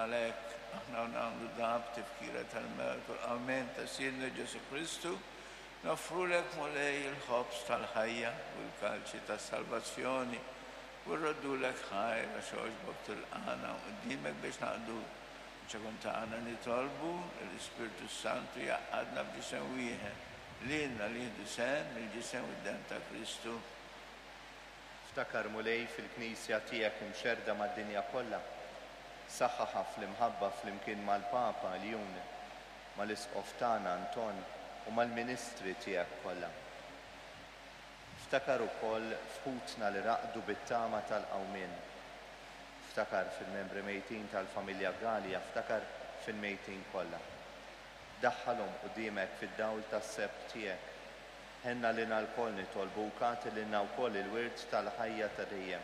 Għalhekk, aħna u nagħmlu dan b'tifkira tal-mewt u l-qawmien ta' Sidna Ġesù Kristu, noffrulek, Mulej, il-ħobż tal-ħajja u l-kalċi tas-salvazzjoni, u rroddulek ħajr għax għoġbok tilqagħna quddiemek biex naqduk. Ċekun tagħna nitolbu li l-Ispirtu s-Santu jgħaqqadna f'ġisem wieħed, lilna li nieħdu sehem mill-ġisem u d-demm ta' Kristu. Ftakar, Mulej, fil-Knisja tiegħek imxerrda mad-dinja kollha. Saħħaħha fl-imħabba flimkien mal-Papa Ljun, mal-Isqof tagħna Anton u mal-ministri tiegħek kollha. Ftakar ukoll f'ħutna li raqdu bit-tama tal-qawmien. Ftakar fil-membri mejtin tal-familja Galea, ftakar fil-mejtin kollha. Daħħalhom quddiemek fid-dawl tas-sebħ tiegħek. Ħenna lilna lkoll nitolbuk, agħti lilna wkoll il-wirt tal-ħajja ta' dejjem,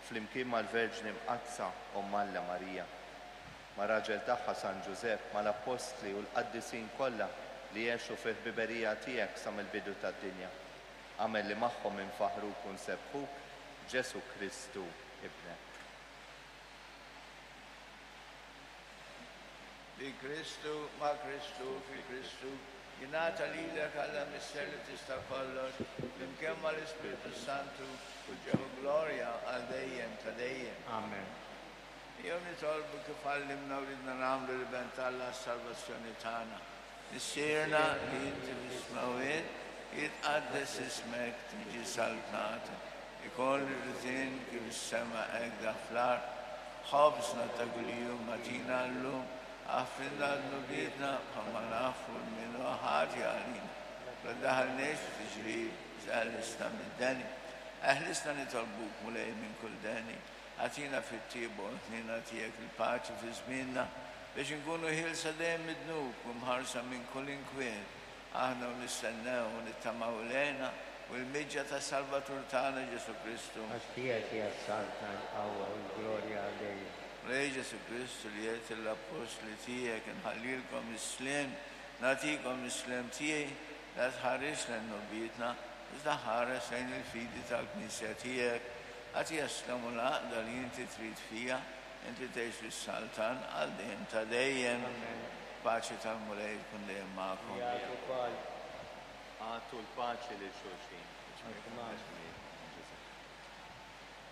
flimkien mal-Verġni Mqaddsa, Omm Alla Marija, mar-raġel tagħha San Ġużepp, mal-Appostli u l-qaddisin kollha li għexu fil-ħbiberija tiegħek sa mill-bidu tad-dinja. Agħmel li magħhom infaħħruk u nsebbħuk, b'Ġesù Kristu, Ibnek. Bi Kristu, ma' Kristu, fi Kristu, jingħata lilek Alla Missier li tista' kollox, flimkien mal-Ispirtu s-Santu, kull ġieħ u glorja għal dejjem ta' dejjem. Amen. Ejjew nitolbu kif għallimna u ridna nagħmlu l-Iben t'Alla għas-salvazzjoni tagħna. Missierna li inti fis-smewwiet, jitqaddes ismek, tiġi saltnatek. Ikoll ir-ritin kif is-sema hekk dak fl-art. Ħobżna ta' kuljum agħtina llum, aħfrilna dnubietna bħalma naħfru 'l min hu ħati għalina. La ddaħħalniex f'tiġrib, iżda eħlisna mid-deni. Eħlisna nitolbuk, Mulej, minn kull deni. Agħtina fit-tjieba u l-ħniena tiegħek il-paċi fi żmienna, biex inkunu ħielsa dejjem mid-dnub u mħarsa minn kull inkwiet. Aħna u nistennew u nittamaw l-hena u l-miġja tas-Salvatur tagħna Ġesù Kristu. Għax tiegħek hija s-saltna, il-qawwa u l-glorja għal dejjem. Mulej Ġesù Kristu li għedt lill-appostli tiegħek, Inħallilkom is-sliem, nagħtikom is-sliem tiegħi, la tħarisx lejn dnubietna, iżda ħares lejn il-fidi tal-Knisja tiegħek. Agħtiha s-sliem u l-għaqda li inti trid fiha, Inti tgħix fis-saltan għal dejjem ta' dejjem. Amen. Paċi tal-Mulej tkun dejjem magħkom. Miegħek ukoll. Agħtu l-paċi lil xulxin.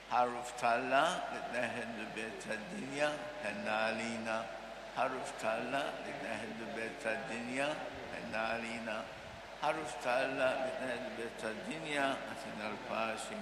Ħaruf t'Alla li tneħħi d-dnubiet tad-dinja, ħenna għalina. Ħaruf t'Alla li tneħħi d-dnubiet tad-dinja, ħenna għalina. Ħaruf t'Alla li tneħħi d-dnubiet tad-dinja, agħtina l-paċi.